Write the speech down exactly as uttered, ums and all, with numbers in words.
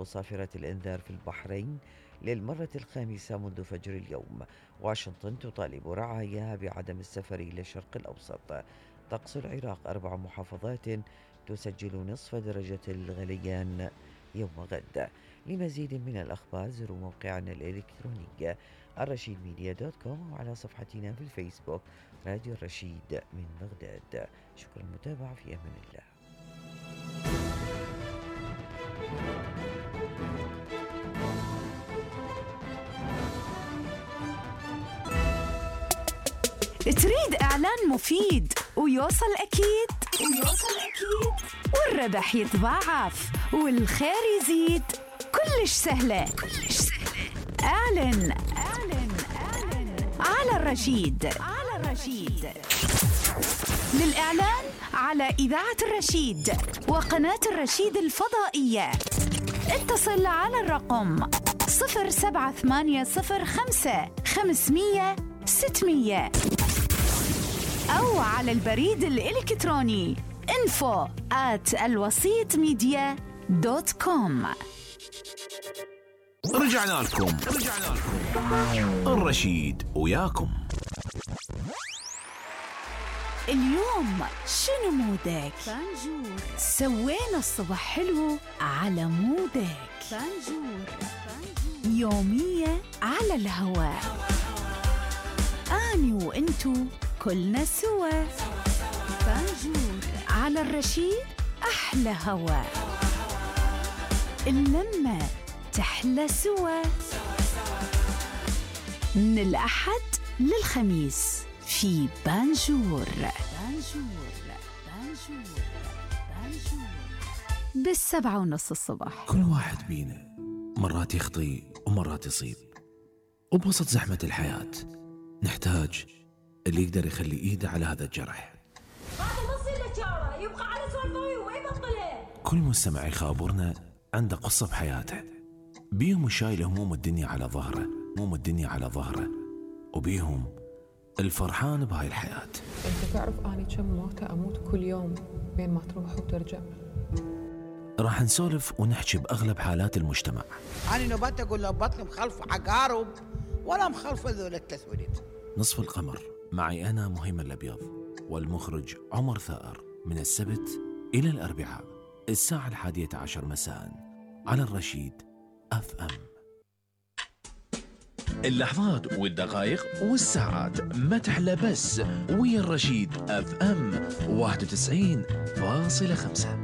تطلق صافرة الإنذار في البحرين للمرة الخامسة منذ فجر اليوم. واشنطن تطالب رعاياها بعدم السفر إلى الشرق الأوسط. طقس العراق: أربع محافظات تسجل نصف درجة الغليان يوم غد. لمزيد من الأخبار زوروا موقعنا الإلكتروني الرشيد ميديا دوت كوم وعلى صفحتنا في الفيسبوك راديو الرشيد من بغداد. شكرا للمتابعة، في أمان الله. تريد إعلان مفيد ويوصل أكيد ويوصل أكيد والربح يتضاعف والخير يزيد؟ كلش سهلة كلش سهلة. اعلن اعلن اعلن على الرشيد على الرشيد. للإعلان على إذاعة الرشيد وقناة الرشيد الفضائية اتصل على الرقم صفر سبعة ثمانية صفر خمسة خمسمية ستمية أو على البريد الإلكتروني info at الوسيط ميديا دوت كوم. رجعنا لكم رجعنا لكم الرشيد وياكم. اليوم شنو مودك؟ فانجور. سوينا الصبح حلو على مودك. فانجور. يومية على الهواء، أني وإنتو كلنا سوا. فانجور على الرشيد، أحلى هوا، اللمة تحلى سوا. من الأحد للخميس في بانجور. بانجور بانجور بانجور بالسبعة ونص الصبح. كل واحد بينا مرات يخطي ومرات يصيب، وبوسط زحمة الحياة نحتاج اللي يقدر يخلي إيده على هذا الجرح. يبقى على سوالفوي ويبطله. كل مستمع يخابرنا عنده قصة بحياته، بيهم شايل هموم الدنيا على ظهره، هموم الدنيا على ظهره، وبيهم الفرحان بهاي الحياة. انت تعرف اني كم موتة اموت كل يوم بين ما تروح وترجع. راح نسولف ونحكي بأغلب حالات المجتمع. أنا نبات أقول له بطل مخلف عقارب ولا مخلف ذول التسويلات. نصف القمر معي أنا مهيمن الأبيض والمخرج عمر ثائر، من السبت إلى الأربعاء الساعة الحادية عشر مساء على الرشيد أف أم. اللحظات والدقائق والساعات ما تحلى بس ويا الرشيد أف أم واحد وتسعين فاصلة خمسة.